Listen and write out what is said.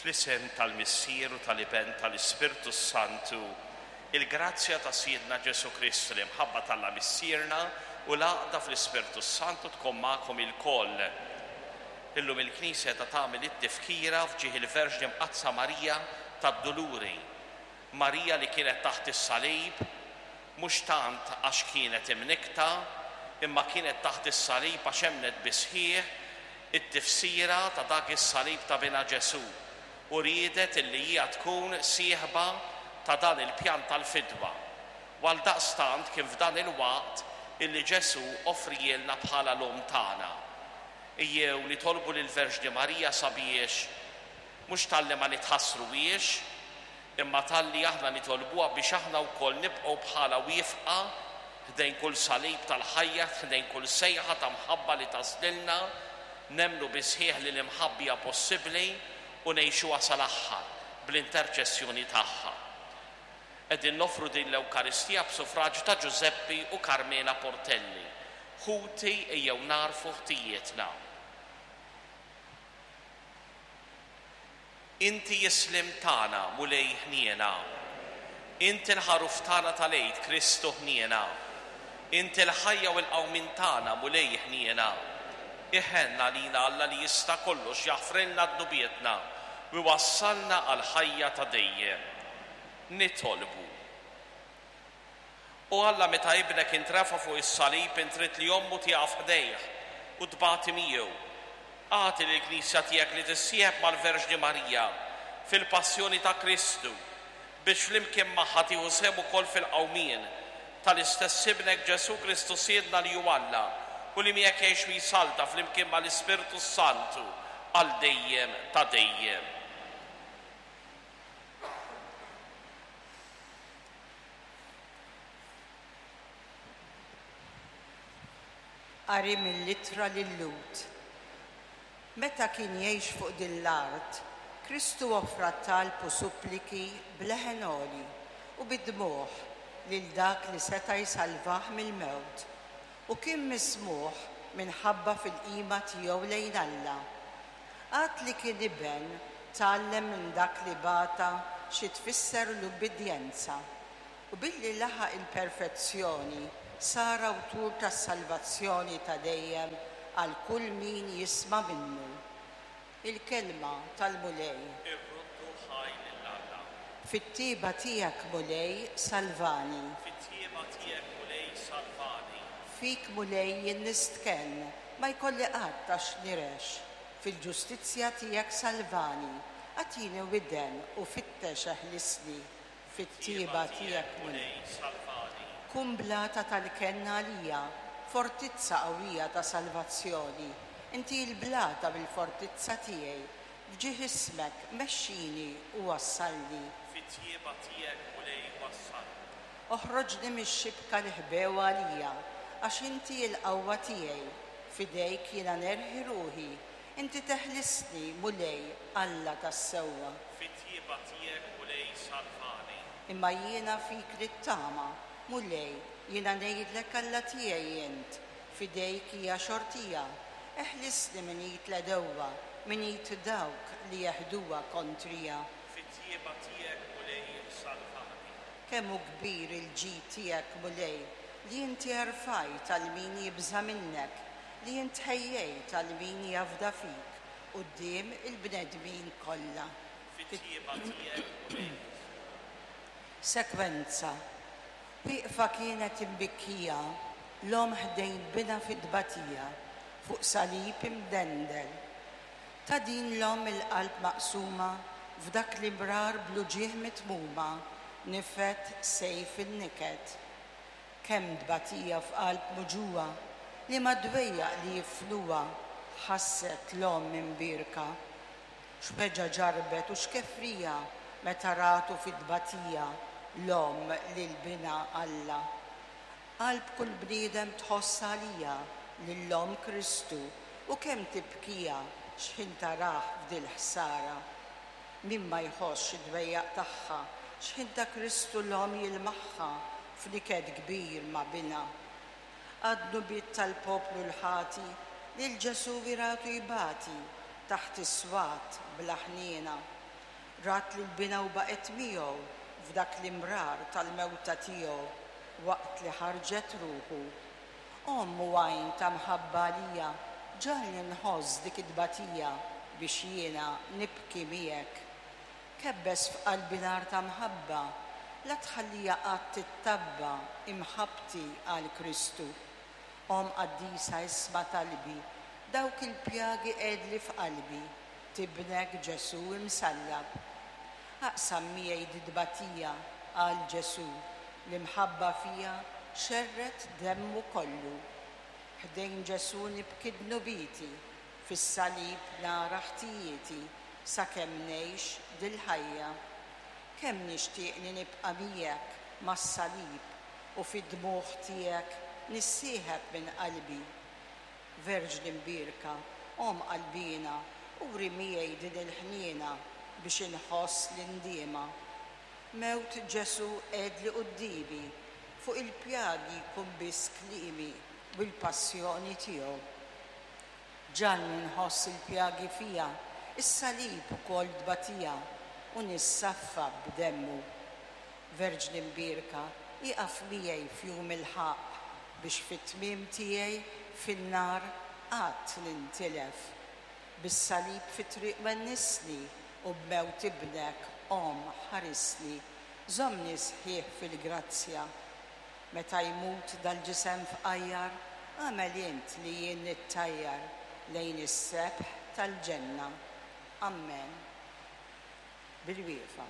Fl-isem tal-Missier u tal-Iben tal-Ispirtu s-Santu, il-grazzja ta' Sidna Ġesù Kristu, l-imħabba t'Alla Missierna u l-għaqda fl-Ispirtu s-Santu tkun magħkom ilkoll. Illum il-Knisja qiegħda tagħmel it-tifkira f'ġieħ il-Verġni Mqaddsa Marija tad-Duluri. Marija li kienet taħt is-salib mhux tant għax kienet imnikkta, imma kienet taħt is-salib għax emmnet bis-sħiħ it-tifsira ta' dak is-salib ta' Binha Ġesù u riedet illi hija tkun sieħba ta' dan il-pjan tal-fidwa. U għaldaqstant kien f'dan il-waqt illi Ġesù offrielna bħala l-Omm tagħna. Ejjew nitolbu lill-Verġni Marija sabiex mhux talli ma nitħassruhiex, imma talli aħna nitolbuha biex aħna wkoll nibqgħu bħalha wieqfa ħdejn kull salib tal-ħajja, ħdejn kull sejħa ta' mħabba li taslilna, nemmnu bis-sħiħ li l-imħabba hija possibbli u ngħixuha sal-aħħar bl-interċessjoni tagħha. Qegħdin noffru din l-Ewkaristija b'sufraġju ta' Ġużeppi u Carmela Portelli. Ħuti ejjew nagħrfu ħtijietna. Inti s-sliem tagħna, Mulej ħniena. Inti l-ħaruf tagħna tal-Għid, Kristu ħniena. Inti l-ħajja u l-qawmien tagħna, Mulej ħniena. Iħenn għalina Alla li jista' kollox jaħfrilna dnubietna u jwassalna għall-ħajja ta' dejjem. Nitolbu. O Alla, meta Ibnek intrefa' fuq is-salib int ridt li ommu tieqaf ħdejh u tbati miegħu. Agħti lill-Knisja tiegħek li tissieħeb mal-Verġni Marija fil-passjoni ta' Kristu, biex flimkien magħha tieħu sehem ukoll fil-qawmien tal-istess Ibnek Ġesù Kristu Sidna li hu Alla u li miegħek jgħix u jsalta flimkien mal-Ispirtu s-Santu għal dejjem ta' dejjem. Qari mill-Ittra lil-Lhud. Meta kien jgħix fuq din l-art, Kristu offra talb u suppliki b'leħen għoli u bid-dmugħ lil dak li seta' jsalvah mill-mewt, u kien mismugħ minħabba fil-qima tiegħu lejn Alla. Għad li kien iben, tgħallem minn dak li bata xi tfisser l-ubbidjenza, u billi laħaq il-perfezzjoni sar awtur tas-salvazzjoni ta' dejjem għal kull min jisma' minnu. Il-Kelma tal-Mulej. Irroddu ħajr lil Alla. Fit-tjieba tiegħek, Mulej, salvani. Fit-tjieba tiegħek, Mulej, salvani. Fik, Mulej, jien nistkenn, ma jkolli qatt għax nirex. Fil-ġustizzja tiegħek salvani, agħtini widen u fittex eħlisni. Fit-tjieba tiegħek, Mulej, salvani. Kun blata tal-kenn għalija, fortizza qawwija ta' salvazzjoni. Inti l-blata mill-fortizza tiegħi. F'ġieħ ismek, mexxini u wassalni. Fit-tjieba tiegħek, Mulej, wassalni. Oħroġni mix-xibka li ħbew għalija, għax inti l-qawwa tiegħi. F'idejk jiena nerħi ruħi. Inti teħlisni, Mulej, Alla tas-sewwa. Fit-tjieba tiegħek, Mulej, salvani. Imma jiena fik nittama, Mulej, jiena ngħidlek Alla tiegħi int, f'idejk hija xortija. Eħlisni minn id l-għedewwa, minn id dawk li jeħduha kontrija. Fit-tjieba tiegħek, Mulej, salvani. Kemm hu kbir il-ġid tiegħek, Mulej, li inti erfajt għal min jibża' minnek, li int ħejjejt għal min jafda fik quddiem il-bnedmin kollha. Fit-tjieba tiegħek, Mulej. Sekwenza, Wieqfa kienet imbikkija l-omm ħdejn binha fit-tbatija fuq salib imdendel. Ta' din l-omm il-qalb maqsuma f'dak l-imrar bl-uġigħ mitmuma nifed sejf in-niket. Kemm tbatija f'qalb muġugħa, liema dwejjaq li jifnuha ħasset l-omm imbierka. X'weġgħa ġarrbet u x'kefrija meta ratu fit-tbatija l-omm lil binha Alla. Qalb kull bniedem tħoss għaliha lil Omm Kristu u kemm tibkiha x'ħin tarah f'dil-ħsara. Min ma jħossx id-dwejjaq tagħha x'ħin ta' Kristu l-Omm jilmaħha f'niket kbir ma' Binha. Għad-dnubiet tal-poplu l-ħati lil Ġesù iratu jbati taħt is-swat bla ħniena. Rat lil Binha u baqgħet miegħu f'dak l-imrar tal-mewta tiegħu waqt li ħarġet ruħu. Omm u għajn ta' mħabba għalija, ġagħalni nħoss dik it-tbatija biex jiena nibki miegħek. Kebbes f'qalbi nar ta' mħabba, la tħallija qatt tittabba imħabbti għal Kristu. Omm qaddisa isma' talbi, dawk il-pjagi qegħdli f'qalbi, t'Ibnek Ġesù imsallab. Aqsam miegħi dit-tbatija għal Ġesù, l-imħabba fija xerred demmu kollu. Ħdejn Ġesù nibki dnubieti, fis-salib nara ħtijieti sakemm ngħix dil-ħajja. Kemm nixtieqni nibqa' miegħek mas-salib u fid-dmugħ tiegħek nissieħeb minn qalbi. Verġni mbierka, Omm qalbiena, uri miegħi din il-ħniena biex inħoss l-indiema. Mewt Ġesù qegħedli quddiemi, fuq il-pjagi jkun biss kliemi u l-passjoni tiegħu. Ġagħalni nħoss il-pjagi fija, is-salib ukoll tbatija, u nissaffa b'demmu. Verġni mbierka, ieqaf miegħi f'jum il-ħaqq, biex fit-tmiem tiegħi fin-nar qatt nintilef. Bis-salib fit-triq wennisni, u b'mewt Ibnek, Omm, ħarisni, żommni sħiħ fil-grazzja. Meta jmut dal-ġisem fqajjar, agħmel int li jien nittajjar lejn is-sebħ tal-ġenna. Ammen. Bil-wieqfa.